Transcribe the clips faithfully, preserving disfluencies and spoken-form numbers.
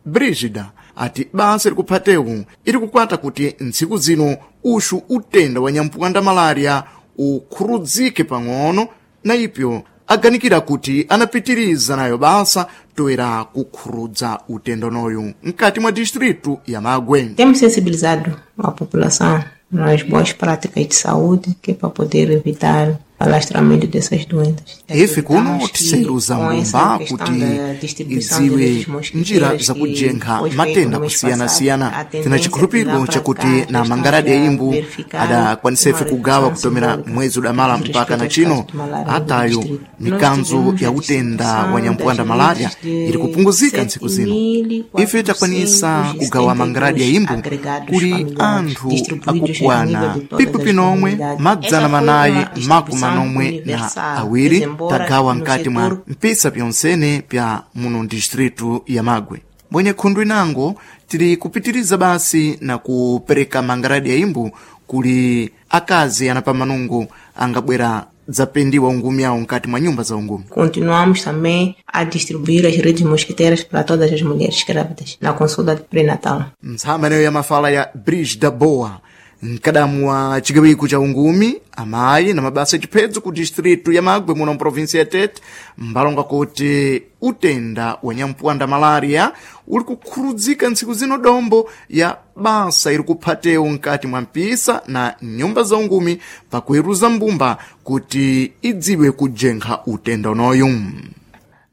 Brigida ati basa likuphatewu ili kukwata kuti ntsiku zino uxu utenda wa nyampuwanda malaria ukhurudzike pang'ono, na ipyo aganikira kuti anapitiriza nayo basa toera kukhurudza utenda unoyu mkati mwa distritu ya Magwe. Temos sensibilizado a população nas boas práticas de saúde, que é para poder evitar o alastramento dessas doenças. Ife kuno tiseruza mbumba kuti idziwe njira zakujenkha matenda kusiyana-siyana. Tina chikhulupiriro chakuti na mangaradi ya imbu adakwanisefe kugawa kutomera mwezi udamala mpaka na chino, atayo mikanzo ya utenda wa nyampuwanda malaria ili kupunguzika ntsiku zino. Ife takwanisa kugawa mangaradi ya imbu kuli anthu akukwana pipi pinomwe madzana manayi makumi manomwe na awiri, tagawa nkati mwa mpisa pyonsene pya muno distritu ya Magwe. Mbwenye khundu inango tili kupitiriza basi na kupereka mangaradi ya imbu kuli akazi anapamanungu angabwera dzapendiwa ungumi awo nkati mwa nyumba za ungumi. Continuamos também a distribuir as redes mosquiteiras para todas as mulheres grávidas na consulta pré-natal. Ntsama ineyo ya mafala ya Brigida Boa, mkadamu wa chigawiko cha ungumi amayi na mabasa achiphedzo ku distritu ya Magwe muno mprovinsi ya Tete, mbalonga kuti utenda wa nyampuwanda malaria uli kukhurudzika ntsiku zino dombo ya basa iri kuphatewu nkati mwa mpisa na nyumba za ungumi pakuiruza mbumba kuti idziwe kujenkha utenda unoyu.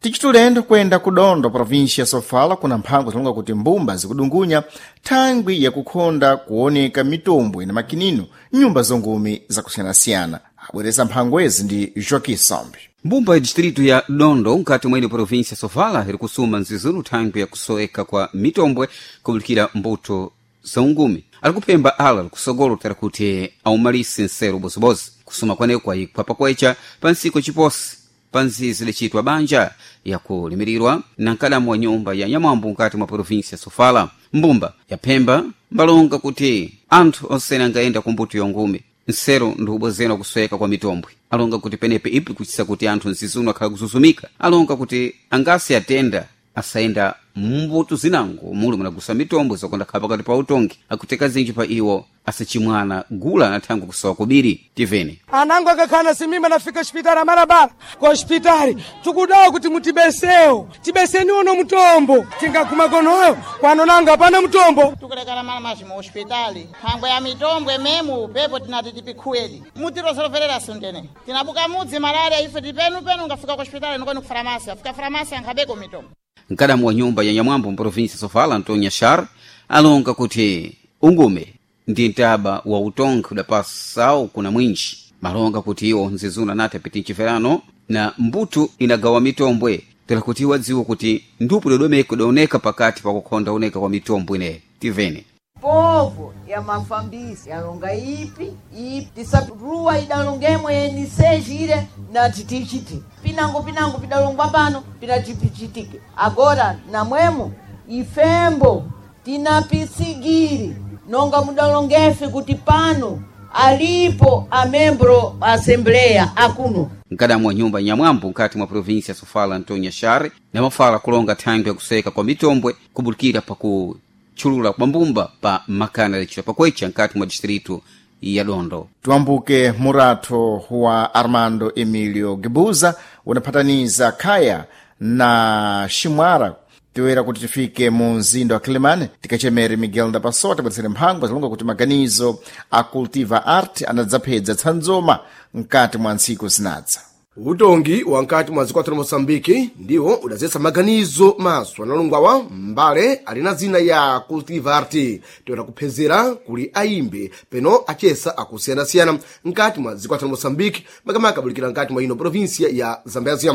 Tichitulendo kuyenda ku Dondo, província ya Sofala, kuna mphango zilonga kuti mbumba zikudungunya thangwi yakukhonda kuoneka mitombo ina makinino nyumba zongumi zakusiyanasiyana. Abwereza mphangwezi ndi Joaquim Sambi. Mbumba ya distritu ya Dondo nkati mwa ino província ya Sofala iri kusuma nzizunu thangwi yakusoweka kwa mitombwe kubulikira mbuto za ungumi. Ali kuphemba ala likusogolo tera kuti aumalise nsero bozibozi. Kusuma kwaneko kwayikwa pakwecha pa ntsiku ciposi pa nzizi licitwa banja yakulimirirwa na nkadamu wa nyumba ya nyamwambu nkati mwa província ya Sofala. Mbumba yaphemba mbalonga kuti anthu onsene angayenda ku mbuto yongumi nsero ndi ubwezera kusweka kwa mitombwe. Alonga kuti penepe ipi kuchisa kuti anthu nzizuno akhala kuzuzumika. Alonga kuti angasi atenda asayenda mumbuto zinango muli munagusa mitombo zakonda khala pakati pa utongi, akuteka zinji pa iwo asachimwana gula na thangwi kusowa kubiri. Tivene anango akakhala simimba nafika hospitali amarabala ku hospitali tikudawa kuti mutibesewo, tibeseni uno mutombo tingaguma konoyo kwano nanga hapana mutombo. Tikulekana mana mazi mu hospitali thangwe ya mitombwe memu pepo tinati tipikhuwedi mutirozoverera sundene tinabuka mudzi malaria ife tipenupenu ngafika ku hospitali nikoni ku faramasi afika faramasi ankhabeko mitombo. Mkadamu wa nyumba ya nyamwambo mprovinsi Sofala Antonio Shar alonga kuti ungume ndi ntaba wa utongi udapasawo kuna mwinji. Malonga kuti iwo nzizuna nati apiti mchiferano na mbuto inagawa mitombwe tera kuti iwo adziwe kuti ndupu dodomeko idaoneka pakati pakukhonda oneka kwa mitombwe ineyi. Tivene povo ya mafambisi yalonga ipi ipi tisaruwa idalongemwe yenisejire nati tichiti pinango pinango pidalongwa pano pinatipichitike agora namwemo ifembo tinapisigiri nonga mudalongefe kuti pano alipo amembro assembleya akuno. Mkadamu wa nyumba nyamwambo nkati mwa província ya Sofala Antonio Share na mafala kulonga thangwi yakuseka kwa mitombwe kubulikira pakutchulula kwa mbumba pa makana yacitwa pakwecha nkati mwa distritu ya Dondo. Tuambuke muratho wa Armando Emilio Gebuza unaphataniza Khaya na Ximwara toera kuti tifike mu mzinda wa Quelimane tikachemere Miguel Ndapasota tabweretsere mphangwa zilonga kuti maganizo a Cultiva Art anadzaphedza tsanzoma mkati mwa ntsiku zinadza. Utongi wa nkati mwa dziko la Moçambique ndiwo udazetsa maganizo maso analungwawa mbale ali na zina ya Cultiva Art toera kuphezera kuli ayimbi peno achesa akusiyanasiyana nkati mwa dziko la Moçambique, makamaka bulikira nkati mwa ino província ya Zambézia.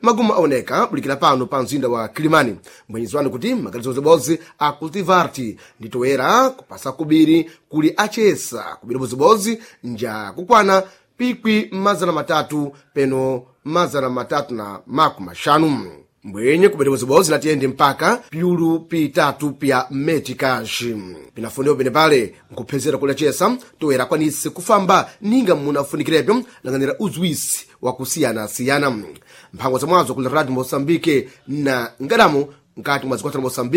Magumu aoneka bulikira pano pa mzinda wa Kilimani mbwenyezwani kuti maganizo zibodzi a Cultiva Art nditoera kupasa kubiri kuli achesa kubiri bozibodzi nja kukwana pikwi mazana matatu peno mazana matatu na makumi maxanu mbwenye kubwera bozibodzi natiyende mpaka piulu pitatu pya metikaxi pinafuniwa pene pale nkuphezera kuli achesa toera akwanise kufamba ninga munafunikirepo lang'anira uzwisi wakusiyanasiyana. Mphango zamwazo kuli Radio Moçambique na ngadamo nkati mwa dziko la Moçambique.